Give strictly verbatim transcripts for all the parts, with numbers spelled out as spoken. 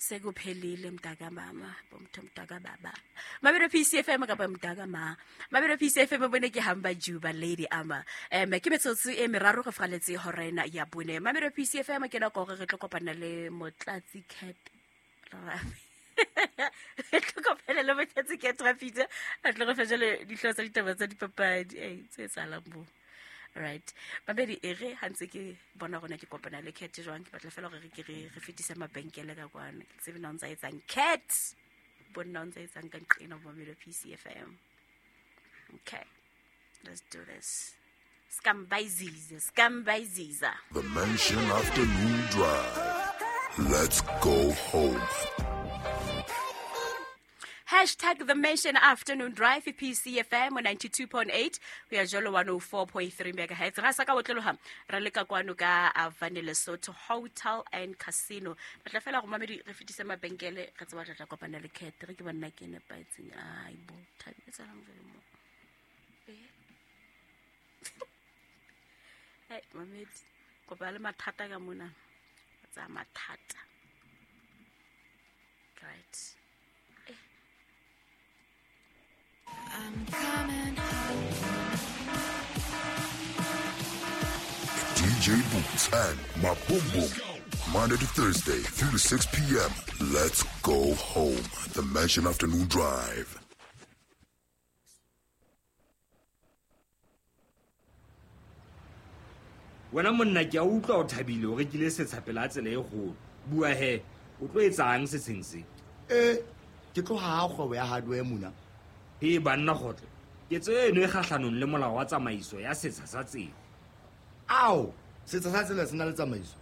Sekuphelile mntaka mama, bomtho mntaka baba. Mabelo P C F M kapa mntaka ma. Mabelo P C F M bone ke hamba Juba Lady Ama. Em ke metsotso e meraro go faletse horena ya bone. Mabelo P C F M ke nako gore re tlo kopana le Motlatsi Cat Rafi. Re tlo kopana le Motlatsi Cat Rafi. A tlo go fa jale dihlooho tsa ditaba tsa dipapadi. Eh tse tsalang bo. Right. Babedi ere ha ntse ke bona rona ke kopana le Cat jwang ke batla fela hore re ke re re fetise mabenkele ka kwana. Ke tsebe na o ntsa etsang Cat. Bona o ntsa etsang ka nqena bo Mabelo P C F M. Okay. Let's do this. Scambiziza, Scambiziza. The Mansion Afternoon Drive. Let's go home. Hashtag The Mansion Afternoon Drive, P C F M ninety-two point eight. We are jolo one oh four point three megahertz. Ra sa ka botloloha ra leka kwano ka Avane Lesotho Hotel and Casino. Batla fela go mamedi re fetise mabenkele re tseba tla kopana le Cat re ke bona ke nepaetseng. Ai bo thabi tsa lang jalo mo. Hey mamedi kopa le mathata ka mona. Tsa mathata. Right. I'm coming home. D J Boots and Maboom. Monday to Thursday, three to six p.m. Let's go home. The Mansion Afternoon Drive. Wena monna ke a utlwa o thabile o rekile setsha pela tsela e kgolo. Bua he, o tlo etsang setsheng se? Eh, ke tlo ha kgwebo ya hardware mona. He banna kgotlo. Ketso eno e kgahlanong le molao wa tsamaiso ya setsha sa tsela. Ao, setsha sa tsela se na le tsamaiso.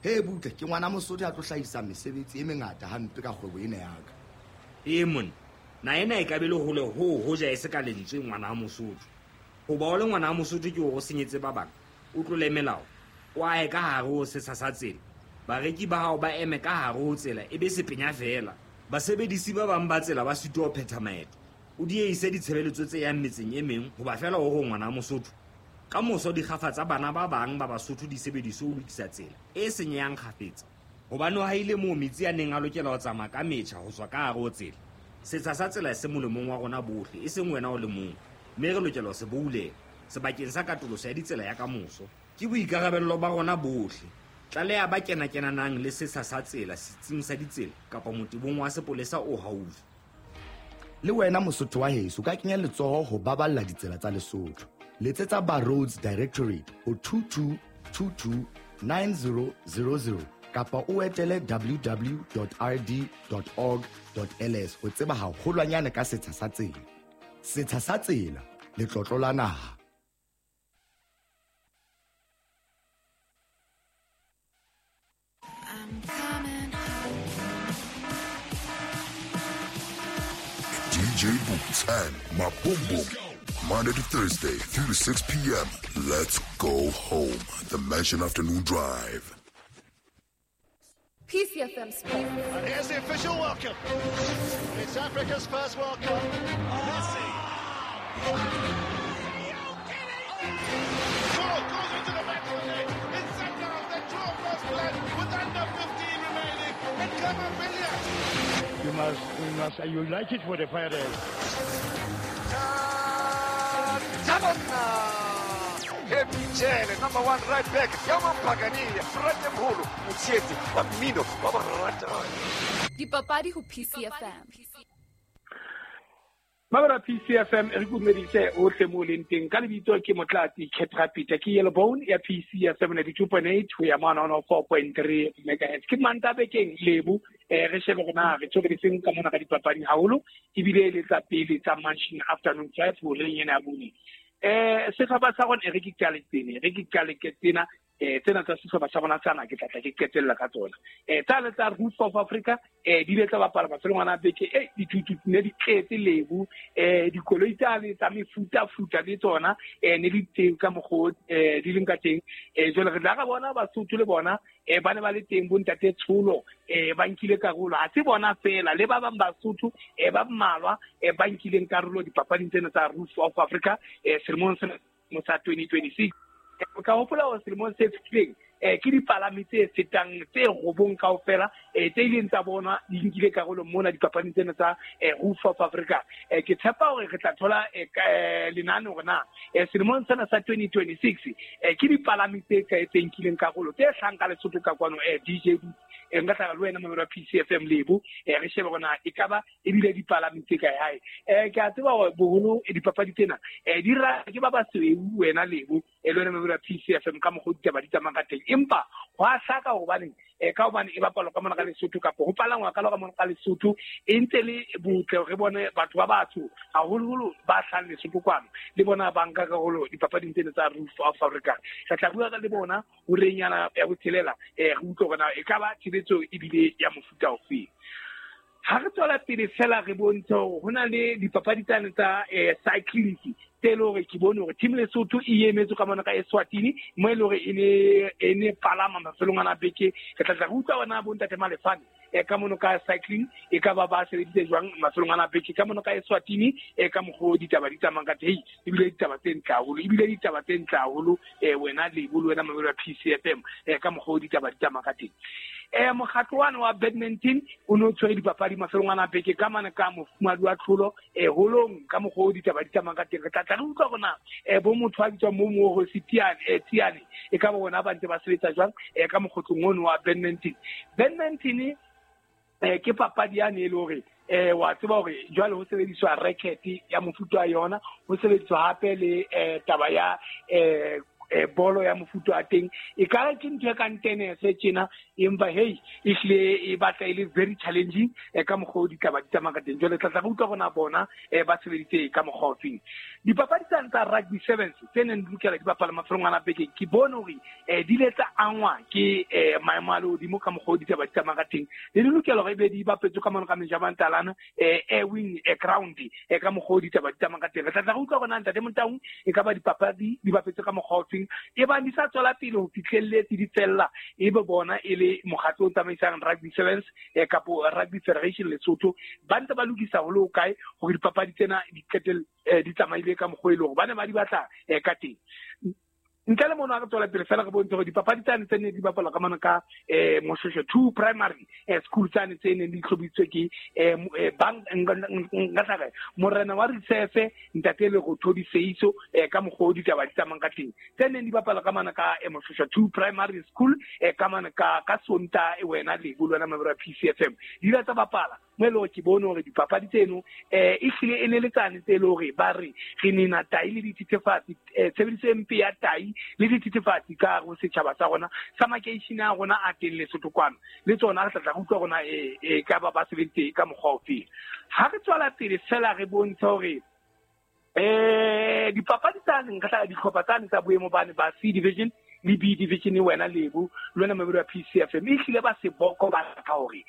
He butle, ke ngwana Mosotho a tlo hlahisa mesebetsi e mengata hampe ka kgwebo ena ya ka. Ee monna, na ena e ka be le hole ho hoja e se ka lentswe ngwana Mosotho. Hoba o le ngwana Mosotho ke o senyetse ba bang. O tlole melao, o ahe ka hare ho setsha sa tsela. Bareki ba hao ba eme ka hare ho tsela e be sepenya fela. Basebedisi ba bang ba tsela ba sitwa ho phetha maeto. O dieise ditshebeletso tse yang metseng e meng hoba fela o ho ngwana Mosotho. Ka moso dikgafa tsa bana ba bang ba Basotho di sebediswe ho lokisa tsela e senyehang kgafetsa. Hobane ha ile moo metsi a neng a lokela ho tsamaya ka metjha ho tswa ka hare ho tsela. Setsha sa tsela se molemong wa rona bohle, e seng wena o le mong. Mme re lokela ho se boulela sebakeng sa katoloso ya ditsela ya kamoso. Ke boikarabello ba rona bohle. Tlaleha ba kena-kenanang le setsha sa tsela setsing sa ditsela kapa motebong wa sepolesa o haufi. Le wena Mosotho wa heso ka kenya letsoho ho baballa ditsela tsa Lesotho. Letsetsa ba Roads Directorate ho two two two two nine zero zero zero kapa o etele w w w dot r d dot org dot l s ho tseba haholwanyane ka setsha sa tsela. Setsha sa tsela, letlotlo la naha. I'm coming home. D J Boots and Maboom. Monday to Thursday, three to six p.m. Let's go home. The Mansion Afternoon Drive. P C F M Sports. And here's the official welcome. It's Africa's first World Cup. Messi. Goal goes into the back of the net. It's set down. They draw first blood with under fifteen remaining. And Camavinga. You must, you must, you like it for the fire. Michele, number one right back, Yaman Pagani, Frate Mholo, Motsietsi, wa mmino, wa borata. Dipapadi ho P C F M. Mabara P C F M re kumeditse ohle mo leng teng ka lebitso ke Motlatsi Cat Rapita ke Yellow Bone ya P C F M ninety-two point eight ho ya one oh four point three megahertz. Ke manta bekeng lebu eh re shebe rona re tshobeditseng ka mona ka dipapadi haholo ebile le tsa pele tsa Mansion Afternoon Drive ho reng ena ya bone. Eh sehlopha sa rona re ke qale tsene re ke qale ke tsena eh tsena tsa sehlopha sa rona tsana ke tla tla ke qetella ka tsona eh tsa le tsa Roots of Africa eh di le tsa bapala mafelong ana beke eh dithutu ne di tletse lebu eh dikoloi tsa le tsa mefuta futa le tsona eh ne di teng ka mokgo eh di leng ka teng eh jwale re tla ra bona Basotho le bona eh ba ne ba le teng bo ntate Tsholo eh ba nkile karolo ha se bona fela le ba bang Basotho eh ba mmalwa eh ba nkileng karolo dipapading tsena tsa Roots of Africa eh selemong sena sa twenty twenty-six. Ka hopola hore selemong se fetileng eh ke dipalami tse fetang tse robong kaofela eh tse ileng tsa bona di nkile karolo mona dipapading tsena tsa Roof of Africa. Eh ke tshepa hore re tla thola lenane hore na selemong sena sa twenty twenty-six eh ke dipalami tse kae tse nkileng karolo tse hlahang ka Lesotho ka kwano eh D J eh nka tla le wena mamelo wa P C F M Lebo eh re shebe hore na ekaba ebile dipalami tse kae hae. Eh ke a tseba hore boholo dipapadi tsena eh di ra ke ba basweu wena Lebo e le wena mamelo wa P C F M ka mokgwa ditaba di tsamayang ka teng, empa ho a hlaka hobane eh ka hobane e bapalwa ka mona ka Lesotho kapa ho palangwa ka ka mona ka Lesotho e ntse le botle re bone batho ba batsho haholoholo ba hlahang Lesotho kwano le bona ba nka karolo dipapading tsena tsa Roof of Africa. Re tla bua ka le bona horenyana ya botshelela eh re utlwe hore na e ka ba tshebetso ebile ya mofuta ofe. Ha re tswela pele fela re bontshe hore ho na le dipapadi tsane tsa cycling tse le hore ke bone hore team Lesotho e emetse ka mona ka Eswatini mo e le hore e ne e ne palama mafelong ana beke. Re tla tla re utlwa bona bo ntate Malefane e ka mono ka cycling e ka ba ba sebeditse jwang mafelong ana beke ka mono ka Eswatini e ka mokgwa ditaba di tsamayang ka teng, ebile ditaba tse ntle haholo ebile ditaba tse ntle haholo eh wena Lebo le wena mamelo wa P C F M e ka mokgwa ditaba di tsamayang ka teng. Eh mokgatlo wa wa badminton o no tshwere dipapadi mafelong ana beke ka mane ka mofumadi wa tlholo eh holong ka mokgwa ditaba di tsamayang ka teng. Re tla tla re utlwa hore na eh bo motho a bitswang mo Moho Sitiane eh Tiane e ka bona ba ntse ba sebetsa jwang eh ka mokgotlong ono wa badminton. Badminton eh ke papadi yane e le hore eh wa tseba hore jwale ho sebediswa racket ya mofuta wa yona, ho sebediswa hape le eh taba ya eh eh bolo ya mofuta wa teng e ka ke ntho e kang tennis tjena, empa hey ehlile e batla e le very challenging e ka mokgwa ditaba di tsamaya ka teng. Jwale tla tla re utlwa rona bona eh ba sebeditse ka mokgwa ofeng. Dipapadi tsane tsa rugby sevens tse neng di lokela di bapala mafelong ana beke ke bone hore eh di ile tsa angwa ke eh maemo a lehodimo ka mokgwa ditaba di tsamaya ka teng, le di lokela hore ebe di bapetswe ka mona ka Mejamantalana eh air wing eh ground eh ka mokgwa ditaba di tsamaya ka teng. Re tla tla re utlwa rona ntate Motaung e ka ba dipapadi di bapetswe ka mokgwa ofeng e ba di sa tswela pele ho fihlelletse di tsella e be bona e le mokgatlo o tsamaisang rugby sevens eh kapo Rugby Federation Lesotho ba ntse ba lokisa ho le ho kae hore dipapadi tsena di qetelle di tsamaile ka mokgwa e le hore ba ne ba di batla ka teng. Ntle le mono a re tswela pele fela re bontshe hore dipapadi tsane tse neng di bapalwa ka mona ka eh Moshosho two primary eh school tsane tse neng di hlobisitswe ke eh bank nka tla re morena wa Risefe ntate le go thodi seiso eh ka mokgwa ditaba di tsamayang ka teng tse neng di bapalwa ka mona ka Moshosho two primary school eh ka mona ka ka Sonta e wena Lebo le wena mamelo wa P C F M di ile tsa bapala mo e le hore ke bone hore dipapadi tseno eh ehlile e ne le tsane tse le hore ba re re nena tai le dithethefatsi tshebediso e mpe ya tai le dithethefatsi ka hare ho setjhaba sa rona sa makeishene a rona a teng Lesotho kwano le tsona re tla tla re utlwa rona e ka ba ba sebeditse ka mokgwa ofeng. Ha re tswela pele fela re bontshe hore eh dipapadi tsane nka tla dihlopha tsane tsa boemo bane ba C division le B division wena Lebo le wena mamelo wa P C F M ehlile ba seboko ba ka hore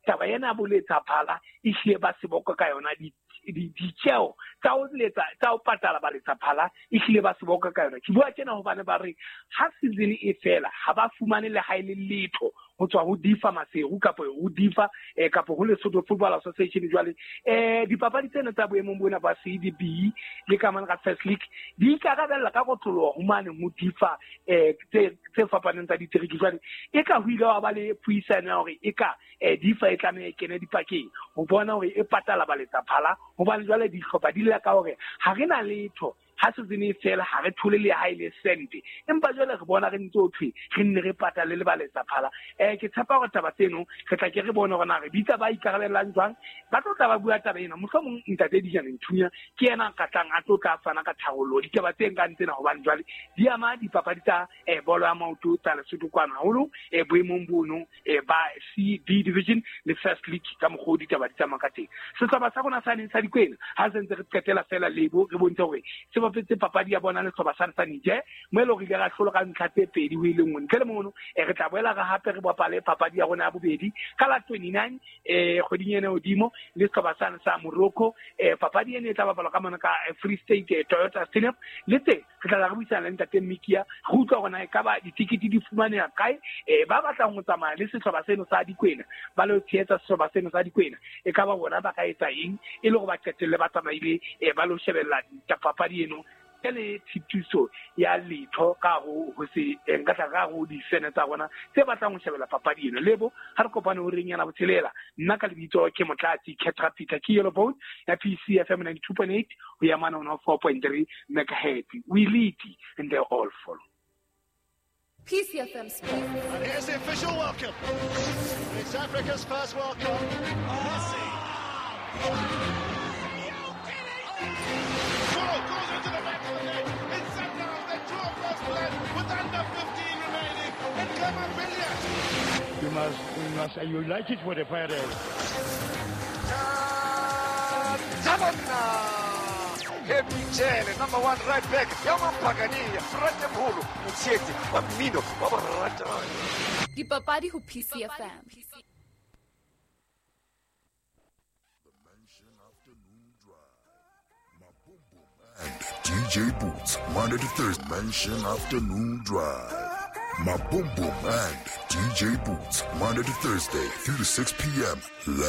taba ena boletsa phala ehlile ba seboko ka yona di ditjeo tsa ho letsa tsa ho patala ba letsa phala ehlile ba seboko ka yona. Ke bua tjena hobane ba re ha season e fela ha ba fumane le ha ile letho ho tswa ho Difa Maseru kapa ho Difa eh kapa ho Lesotho Football Association. Jwale eh dipapadi tsena tsa boemong bona ba C D B le ka mane ka First League di ikarabella ka kotloloho ho mane ho Difa eh tse tse fapaneng tsa diteriki. Jwale e ka ho ile wa ba le puisano ya hore e ka eh Difa e tlameha e kene dipakeng ho bona hore e patala ba letsa phala hobane jwale dihlopha di lla ka hore ha re na letho ha season e fela ha re thole le ha ile sente, empa jwale re bona re ntse o thwe re nne re patale le ba letsa phala. Eh ke tshepa hore taba tseno re tla ke re bone hore na re bitsa ba ikarabellang jwang ba tlo tla ba bua taba ena. Mohlomong ntate Dijane Nthunya ke yena a ka tlang a tlo tla fana ka tharollo ditaba tse nkang tsena hobane jwale di ama dipapadi tsa eh bolo ya maoto tsa Lesotho kwana haholo eh boemong bono eh ba C D division le First League ka mokgwa ditaba di tsamaya ka teng. Sehlopha sa rona sa neng sa Dikwena ha se ntse re qetela fela Lebo re bontshe hore se bapetse papadi ya bona le sehlopha sa sa Niger mo e le hore ile ra hlola ka ntlha tse pedi ho ile nngwe. Ntle le mono eh re tla boela re hape re bapale papadi ya rona ya bobedi ka la twenty-nine eh kgweding ena hodimo le sehlopha sa sa Morocco. Eh papadi ena e tla bapalwa ka mona ka Free State Toyota Stadium le teng re tla re buisana le ntate Mikia re utlwa hore na e ka ba ditikete di fumaneha kae eh ba batlang ho tsamaya le sehlopha seno sa Dikwena ba lo tshehetsa sehlopha seno sa Dikwena e ka ba bona ba ka etsa eng e le hore ba qetelle ba tsamaile eh ba lo shebella papadi eno Ntle le tshitiso ya letho ka ho ho se nka tla ka ho difene tsa rona tse batlang ho shebella papadi eno. Lebo ha re kopane ho reng yana botshelela. Nna ka lebitso ke Motlatsi Ketra Peter ke Yellow Bone ya P C F M ninety-two point eight ho ya mane ho four point three megahertz. We lead and they all follow. P C F M Sports. And here's the official welcome. It's Africa's first World Cup. Messi. Goal goes into the back of the net. It's Sundowns that draw first blood with under fifteen remaining. And Khama Billiat. You must, you must, you like it for the Pirates. Michele, number one right back. Yamampagania, Ratemholo, Mutseti, Wamino, Wabarata. Dipapadi ho P C F M. The Mansion Afternoon Drive. Mabumbum and D J Boots, Monday to Thursday. Mansion Afternoon Drive. Mabumbum and D J Boots, Monday to Thursday, three to six P M. Let's